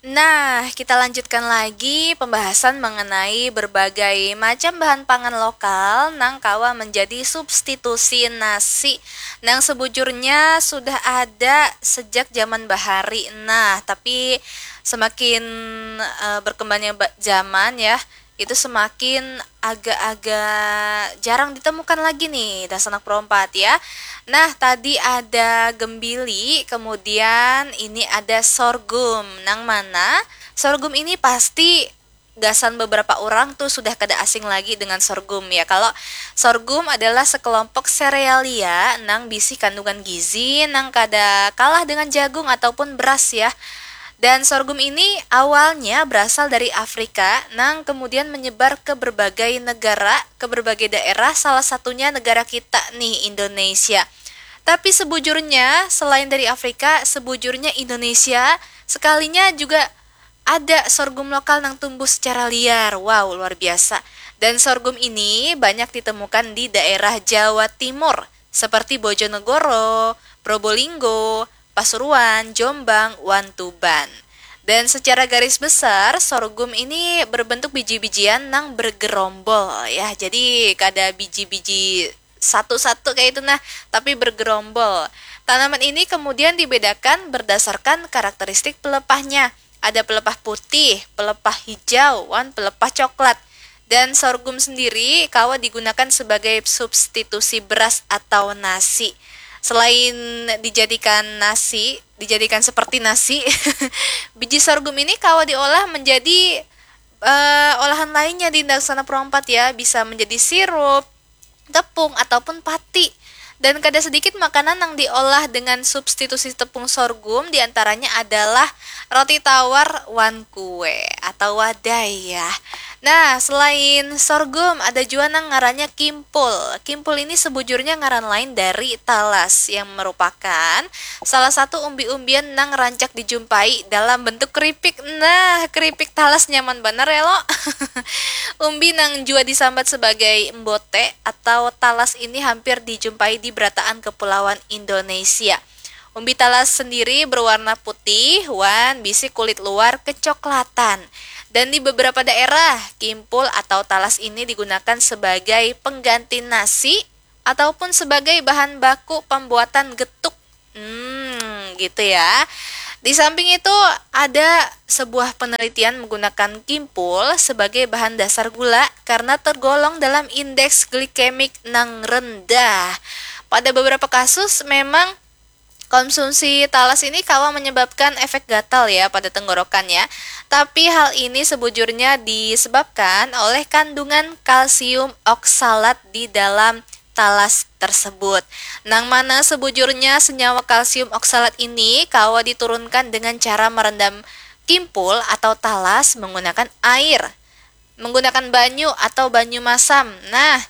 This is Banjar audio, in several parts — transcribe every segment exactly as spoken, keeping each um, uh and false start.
Nah, kita lanjutkan lagi pembahasan mengenai berbagai macam bahan pangan lokal nang kawa menjadi substitusi nasi, nang sebujurnya sudah ada sejak zaman bahari. Nah, tapi semakin uh, berkembangnya zaman ya, itu semakin agak-agak jarang ditemukan lagi nih, dasar anak perompat ya. Nah, tadi ada gembili, kemudian ini ada sorghum. Nang mana sorghum ini pasti gasan beberapa orang tuh sudah kada asing lagi dengan sorghum ya. Kalau sorghum adalah sekelompok serealia nang bisi kandungan gizi nang kada kalah dengan jagung ataupun beras ya. Dan sorghum ini awalnya berasal dari Afrika, nang kemudian menyebar ke berbagai negara, ke berbagai daerah, salah satunya negara kita nih, Indonesia. Tapi sebujurnya, selain dari Afrika, sebujurnya Indonesia sekalinya juga ada sorghum lokal nang tumbuh secara liar. Wow, luar biasa. Dan sorghum ini banyak ditemukan di daerah Jawa Timur, seperti Bojonegoro, Probolinggo, Pasuruan, Jombang, wan Tuban. Dan secara garis besar, sorghum ini berbentuk biji-bijian nang bergerombol ya. Jadi kada biji-biji satu-satu kayak itu nah, tapi bergerombol. Tanaman ini kemudian dibedakan berdasarkan karakteristik pelepahnya. Ada pelepah putih, pelepah hijau, wan pelepah coklat. Dan sorghum sendiri kawa digunakan sebagai substitusi beras atau nasi. Selain dijadikan nasi, dijadikan seperti nasi, biji sorghum ini kawa diolah menjadi uh, olahan lainnya di Daksana Pro empat ya, bisa menjadi sirup, tepung ataupun pati. Dan kada sedikit makanan yang diolah dengan substitusi tepung sorghum, diantaranya adalah roti tawar wan kue atau wadai ya. Nah, selain sorghum, ada juga nang ngarannya kimpul. Kimpul ini sebujurnya ngaran lain dari talas yang merupakan salah satu umbi-umbian nang rancak dijumpai dalam bentuk keripik. Nah, keripik talas nyaman banar ya lo. Umbi nang jua disambat sebagai embote atau talas ini hampir dijumpai di berataan kepulauan Indonesia. Umbi talas sendiri berwarna putih wan bisi kulit luar kecoklatan. Dan di beberapa daerah, kimpul atau talas ini digunakan sebagai pengganti nasi ataupun sebagai bahan baku pembuatan getuk. Hmm, gitu ya. Di samping itu, ada sebuah penelitian menggunakan kimpul sebagai bahan dasar gula karena tergolong dalam indeks glikemik nang rendah. Pada beberapa kasus memang konsumsi talas ini kawa menyebabkan efek gatal ya pada tenggorokan ya. Tapi hal ini sebujurnya disebabkan oleh kandungan kalsium oksalat di dalam talas tersebut. Nang mana sebujurnya senyawa kalsium oksalat ini kawa diturunkan dengan cara merendam kimpul atau talas menggunakan air, menggunakan banyu atau banyu masam. Nah,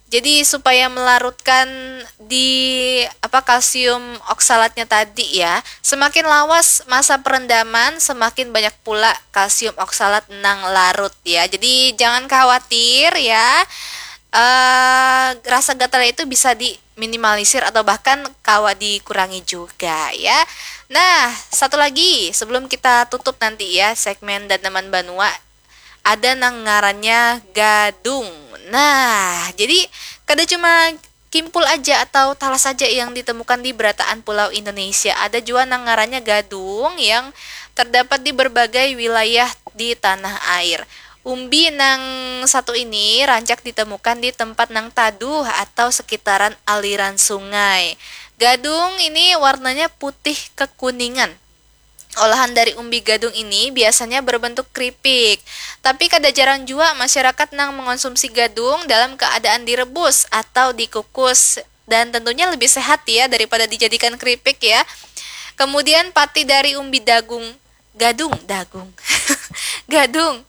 jadi supaya melarutkan di apa kalsium oksalatnya tadi ya, semakin lawas masa perendaman, semakin banyak pula kalsium oksalat nang larut ya. Jadi jangan khawatir ya. Uh, rasa gatal itu bisa diminimalisir atau bahkan kawa dikurangi juga ya. Nah, satu lagi sebelum kita tutup nanti ya segmen dan teman banua, ada nang ngarannya gadung. Nah, jadi kada cuma kimpul aja atau talas saja yang ditemukan di berataan pulau Indonesia. Ada juga nang ngarannya gadung yang terdapat di berbagai wilayah di tanah air. Umbi nang satu ini rancak ditemukan di tempat nang taduh atau sekitaran aliran sungai. Gadung ini warnanya putih kekuningan. Olahan dari umbi gadung ini biasanya berbentuk keripik. Tapi kada jarang jua masyarakat nang mengonsumsi gadung dalam keadaan direbus atau dikukus dan tentunya lebih sehat ya daripada dijadikan keripik ya. Kemudian pati dari umbi dagung, gadung, dagung, gadung.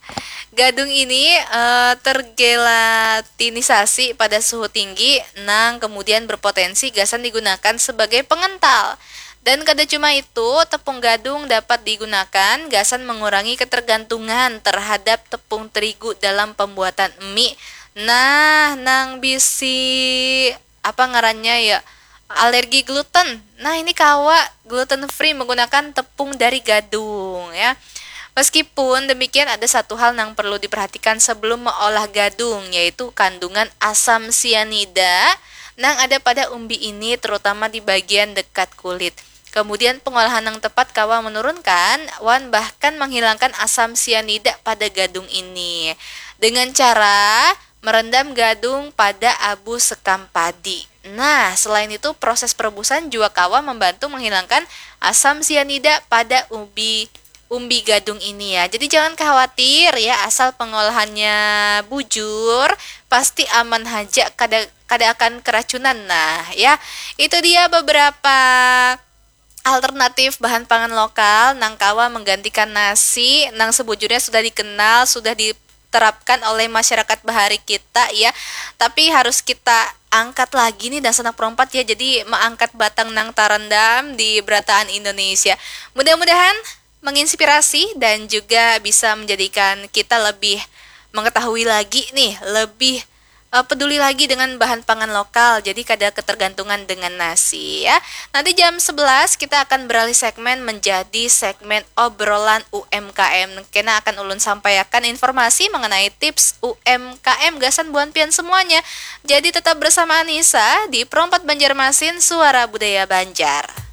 Gadung ini uh, tergelatinisasi pada suhu tinggi nang kemudian berpotensi gasan digunakan sebagai pengental. Dan kada cuma itu, tepung gadung dapat digunakan gasan mengurangi ketergantungan terhadap tepung terigu dalam pembuatan mie. Nah, nang bisi apa ngarannya ya, alergi gluten. Nah, ini kawa gluten free menggunakan tepung dari gadung ya. Meskipun demikian, ada satu hal yang perlu diperhatikan sebelum mengolah gadung, yaitu kandungan asam sianida yang ada pada umbi ini, terutama di bagian dekat kulit. Kemudian pengolahan yang tepat kawa menurunkan wan bahkan menghilangkan asam sianida pada gadung ini dengan cara merendam gadung pada abu sekam padi. Nah, selain itu proses perebusan juga kawa membantu menghilangkan asam sianida pada ubi umbi gadung ini ya. Jadi jangan khawatir ya, asal pengolahannya bujur, pasti aman haja, kada kada akan keracunan. Nah, ya. Itu dia beberapa alternatif bahan pangan lokal nang kawa menggantikan nasi nang sebujurnya sudah dikenal, sudah diterapkan oleh masyarakat bahari kita ya. Tapi harus kita angkat lagi nih dan sanak perompat ya, jadi mengangkat batang nang terendam di berataan Indonesia. Mudah-mudahan menginspirasi dan juga bisa menjadikan kita lebih mengetahui lagi nih, lebih uh, peduli lagi dengan bahan pangan lokal, jadi kada ketergantungan dengan nasi ya. Nanti jam sebelas kita akan beralih segmen menjadi segmen obrolan U M K M. Kena akan ulun sampaikan informasi mengenai tips U M K M gasan buan pian semuanya. Jadi tetap bersama Anissa di Perompat Banjarmasin, Suara Budaya Banjar.